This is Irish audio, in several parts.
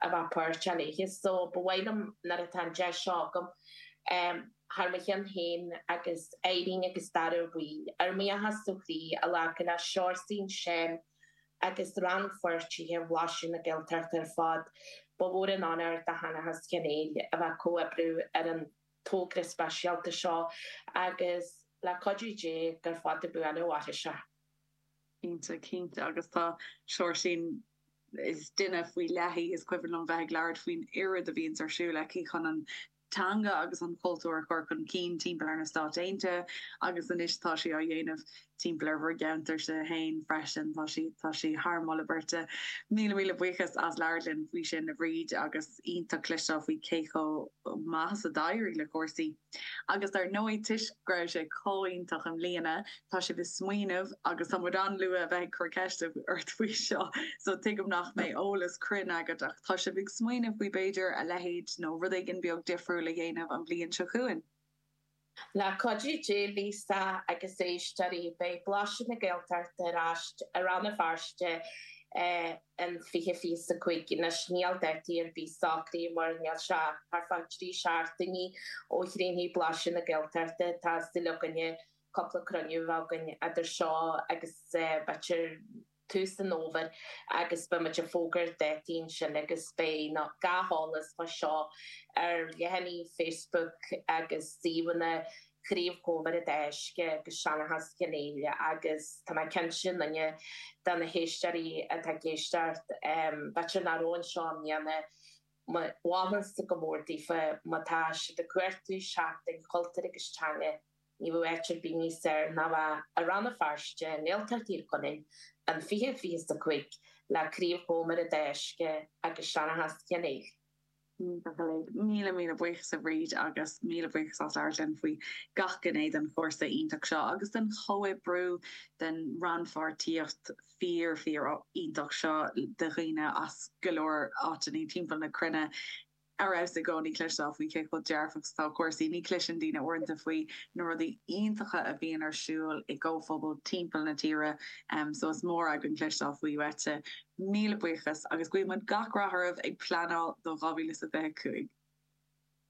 a bheith páirteach léithe. So ba mhaith liom nuair atá an deis seo agam thar mo chionn féin agus Irene agus Dara Ó Baoill, ár mbuíochas ó chroí a ghlacadh le Seoirsín, Seán agus rannpháirtithe Bhlaiseadh na Gaeltachta ar fad. Ba mhór an onóir do Sheanchas Chionn Éil a bheith ag comhoibriú ar an togra speisialta seo agus le cuidiú Dé gur fada buan a mhairfidh sé. Cinnte, cinnte agus tá Seoirsín, is duine faoi leith í, is cuimhin liom bheith ag labhairt faoin oiread a bhíonns ar siúl aici chun an teanga agus an cultúr a chur chun cinn timpeall ar na Stáit Aontaithe agus anois tá sí á dhéanamh timpeall ar bhur gceantarsa féin freisin. Tá sí, tá sí thar moladh beirte. Míle, míle buíochas as labhairt linn faoi sin a Bhríd agus iontach cloisteáil faoi cé chomh maith is a d'éirigh le cúrsaí. Agus dar ndóigh, toisc go raibh sé chomh iontach i mbliana, tá sibh ag smaoineamh, agus tá muid an-luath a bheith ag cur ceiste ort faoi seo, so tuigim nach mbeidh eolas cruinn agat, ach tá sibh ag smaoineamh faoi b'fhéidir a leithéid nó rud éigin beag difriúil a dhéanamh an bhliain seo chugainn. Le cuidiú Dé, Lisa agus éisteoirí, beidh Blaiseadh na Gaeltachta ar ais i Rann na Feirste in 2025. Anois níl dátaí ar bith socraithe mar níl sé ach thart fá thrí seachtainí ó chríochnaigh Blaiseadh na Gaeltachta. Tá súil againne cúpla cruinniú a bheith againn idir seo agus b'fhéidir tús an fhómhair agus beidh muid ag fógairt dátaí ansin agus beidh gach eolas fá seo ar leathanaigh Facebook agus suíomhanna Chraobh Chomhar an Dá Uisce agus Seanchas Chionn Éile agus tá mé cinnte aon duine de na héisteoirí atá ag éisteacht, b'fhéidir nach raibh anseo i mbliana, mholfainnse go mór daofa má tá siad ag cuartú seachtain chultúir agus teanga, ní bheadh áit ar bith níos fearr ná bheith i Rann na Feirste i nGaeltacht Thír Chonaill an 20, 25 le Craobh Chomhar an Dá Uisce agus Seanchas Chionn Éile. Míle míle buíochas a Bhríd agus míle buíochas as labhairt linn faoi gach gné den chúrsa iontach seo agus den chomhoibriú, den rannpháirtíocht fíor fíor iontach seo de dhaoine as go leor áiteanna timpeall na cruinne. Ar fheabhas i gcónaí cloisteáil faoi cé chomh dearfach is atá cúrsaí. Ní chloiseann daoine uaireanta faoi na rudaí iontacha a bhíonn ar siúl i gcomhphobail timpeall na tíre so is mór againn cloisteáil faoi uaitse. Míle buíochas agus guíonn muid gach rath oraibh ag pleanáil do 2025.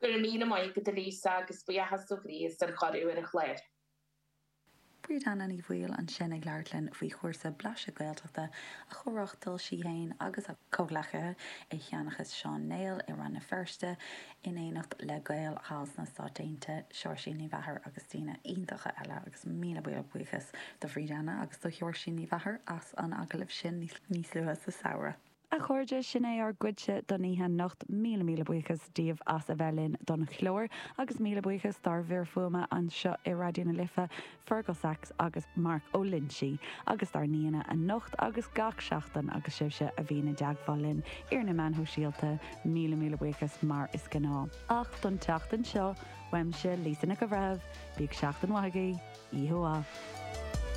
Go raibh míle maith agat a Lisa agus buíochas ó chroí as an chuireadh ar an chlár. Bríd Anna Ní Bhaoill ansin ag labhairt linn faoi chúrsa Blaiseadh Gaeltachta a chomh-reáchtáil sí féin agus a comhghleacaithe i Sheanchas Seán Néill i Rann na Feirste in éineacht le Gaeil thall sna Stáit Aontaithe, Seoirsín Ní Mheachair agus daoine iontacha eile agus míle míle buíochas do Bhríd Anna agus do Sheoirsín Ní Mheachair as an agallamh sin níos luaithe sa samhradh. A chairde, sin é ár gcuidse don oíche anocht. Míle míle buíochas daoibh as a bheith linn don chlár agus míle buíochas dár bhfir fuaime anseo i Raidió na Life, Fergal Sachs agus Mark Ó Loinsigh, agus dár n-aíonna anocht agus gach seachtain agus sibhse a bhíonn i dteagmháil linn ar na meáin shóisialta, míle míle buíochas mar is gnáth. Ach don tseachtain seo, uaimse, Lisa Nic an Bhreithimh, bíodh seachtain mhaith agaibh, oíche mhaith.